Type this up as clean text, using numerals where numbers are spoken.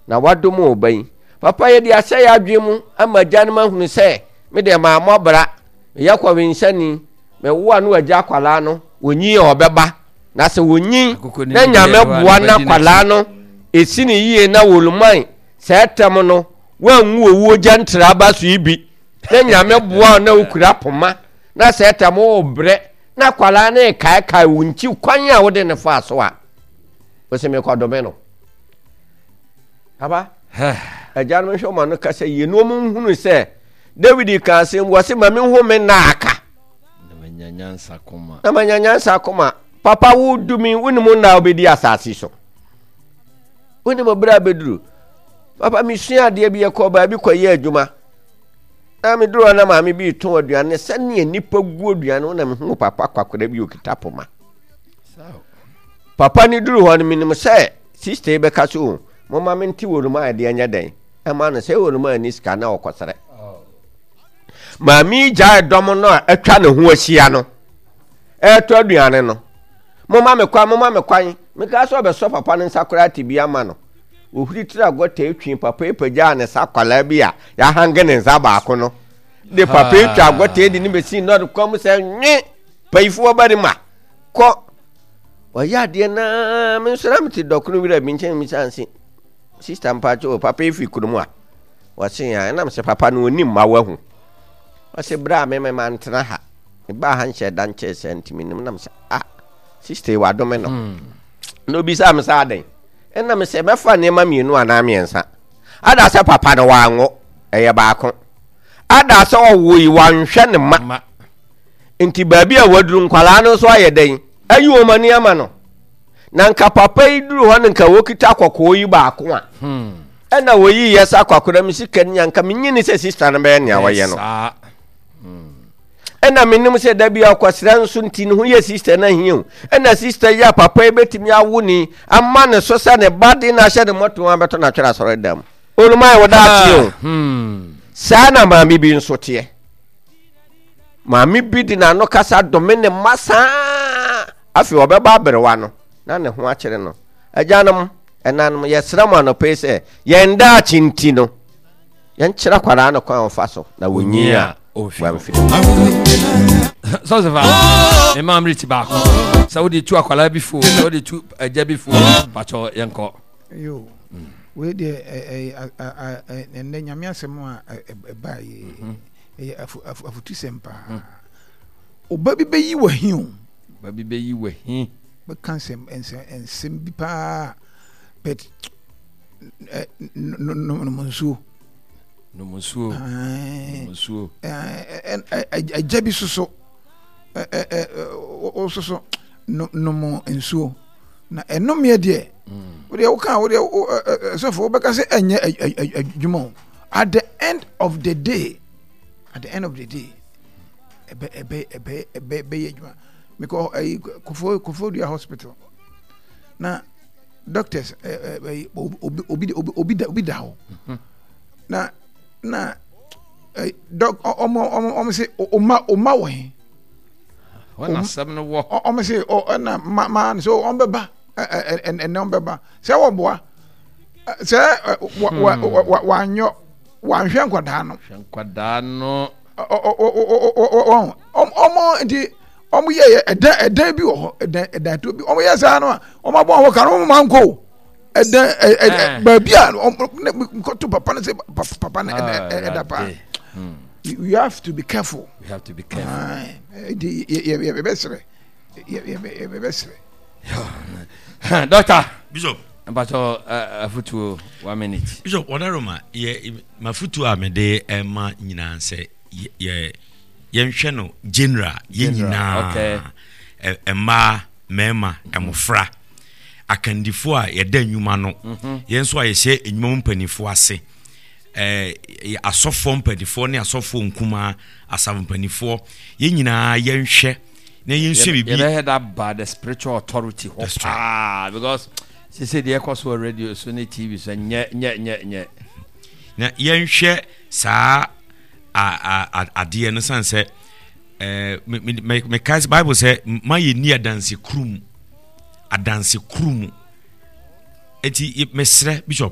Na wadom wo ba yi. Papa yɛde ahyɛ yɛn adwene mu ama agyanom ahunu sɛ me deɛ mammɔ bra, meyɛ kɔwensani, mewo a na wagya akwadaa no, wɔnyin a ɔbɛba. Na sɛ wɔnyin na Nyame boa na akwadaa no ɛsi ne yie na wɔluman sɛ ɛtɛm no wanwu owuo gya ntraba so yi bi na Nyame boa na wokura poma na sɛ ɛtɛm wobrɛ na akwadaa no rekaekae wo nkyi kwan a wode ne faa so a, wosɛ mekɔdome no. Aba, agyanom nhwɛ wɔn ano kasa yie na wɔn nhunu sɛ Dawid ka asɛm wɔ se ma menhu me nna aka. Na manya nyansa koma. Na manya nyansa koma. Papa wo dumi wonim nna a wobɛdi asase so. Wonim berɛ a bɛduru. Papa mesua adeɛ bi yɛkɔɔ baabi kɔyɛ adwuma. Na meduru hɔ na maame bi retɔn aduane sɛnea nnipa gu aduane ho na mehu papa kwakora bi okita poma. Papa no duru hɔ no menim sɛ Sista yi bɛka sɛ, O, momma mente wɔnom a ɛdeɛ nyɛ dɛn ɛma no sɛ wɔnom a ɛni sika na ɔkɔsrɛ. Maame yi gyae dɔm no a atwa ne ho ahyia no ɛretɔ aduane no. Momma me kwan, momma me kwan. Mekaa sɛ ɔbɛsɔ papa no nsa koraa te bi ama no. Ohuri tiri agɔta etwi papa yi pagyaa ne sa akwadaa bi a yɛahange ne nsa baako no. De papa yi twa agɔta de ne bɛsi nnɔre kwan mu sɛ nwe payifoɔ barima kɔ. Ɔyɛ adeɛ naa me nso na mete dɔkono wura bi nkyɛn misa nse sista mpakyɛ o papa efi kurom a wɔse a ɛnam sɛ papa no onim ma wahu ɔse berɛ a me me mantena ha mebaa ha nhyɛ da nkyɛɛ sɛ nti menim nam sɛ a sista yi wadome no hmm. na obisa me sɛ adɛn ɛnam sɛ mɛfa nneɛma mmienu anaa mmiɛnsa ada sɛ papa no wanwo ɛyɛ baako ada sɛ ɔwo yi wanhwɛ ne ma nti baabi a waduru nkwadaa no nso ayɛ dɛn ayi wɔn ani ama no na nka papa yi duru hɔ no nka wɔkita kɔkɔɔ yi baako a hmm. ɛna wɔyi yɛ sɛ akwakoraa mi sika ni anka menyi ne sɛ sista no bɛyɛ nea wɔyɛ no hmm. ɛna menim sɛ da bi akɔsrɛ nso nti ne ho yɛ sista no ahia o ɛna sista yi a papa yi bɛtumi awo ni ama ne so sɛ ne ba de no ahyɛ ne mmɔto abɛtɔ no atwerɛ asɔre dam olumae wo daakye o hmm. saa na maame bi nso teɛ Maame bi de n'ano kasa dome ne mma saa. Afei ɔbɛba aberewa no, na ne ho akyere no. Agyanom, ɛnanom, yɛsrɛ mo anɔpa yi sɛ, yɛn daakye nti no, yɛnkyerɛ akwadaa no kwan a ɔfa so na wɔnyin a wamfiri. Sɔsɛfa, ne maa mmerɛ ti baako. Sɛ wode tu akwadaa bi fo, sɛ wode tu agya bi fo, pakyɛ yɛnkɔ. Yo, wei deɛ ɛnɛ nyame asɛm a ɛbaa yi. Ɛyɛ afutusɛm paa. Hmm. Ɔba bi bɛyi w'ahi o. Ɔba bi bɛyi w'ahi. Bɛka nsɛm nsɛm nsɛm bi paa but nom nsuo. Nom nsuo. Nom nsuo. Agya bi soso soso nom nsuo na ɛnomeɛ deɛ hmm. wodeɛ woka wodeɛ sɔfo wobɛka sɛ ɛnyɛ adwuma o. At the end of the day, at the end of the day, ɛbɛ ɛbɛ ɛbɛ ɛbɛ ɛbɛyɛ adwuma. Mekɔ ɛyi kofo kofodua hospital na doctors ɛ ɛ obi obi obi obi da obi da hɔ mhm. na na ɛ dɔk ɔmo ɔmo ɔmo se ɔma ɔma wɔ he. Wɔn asɛm no wɔ. Ɔmo se ɔ ɛna ma ma so ɔmo bɛba ɛ ɛ ɛnɛ ɔmo bɛba sɛ wɔboa. sɛ wanyɔ wanhwɛ nkwadaa no. Hwɛ nkwadaa no. Ɔmo nti ɔmo yɛ yɛ ɛdan ɛdan bi wɔ hɔ ɛdan ɛdan to bi ɔmo yɛ saa no a ɔmo abɔ ɔmo ka no ɔmo ma nko ɛdan ɛ ɛ baabi a ɔmo ne nkɔto papa no sɛ papa no ɛda ɛda paa. You have to be careful. You have to be careful. Nti yɛ yɛ bɛ srɛ yɛ yɛ bɛ srɛ. Doctor. Bishop. Mpatsɔ afutuo one minute. Bishop Ɔdaroma yɛ mafutuo a mede ɛma nyinaa sɛ yɛ yɛnhwɛ no general yɛ nyinaa mmaa mmarima mmɔfra akandifoɔ a yɛda nnwuma no mhm. yɛn nso a yɛhyɛ nnwuma mu mpanimfoɔ ase ɛɛ asɔfoɔ mpanimfoɔ ne asɔfoɔ nkumaa asafo mpanimfoɔ yɛn nyinaa yɛnhwɛ na yɛnsua biribi. Yɛbɛhɛ da ba the spiritual authority hɔ paa because sese deɛ ɛkɔ so wɔ radio so ne TV so nyɛ nyɛ nyɛ nyɛ. Na yɛnhwɛ saa adeɛ no san sɛ ɛɛ mekae sɛ Bible sɛ ma yɛnni adanse kuru mu adanse kuru mu eti mesrɛ bishop.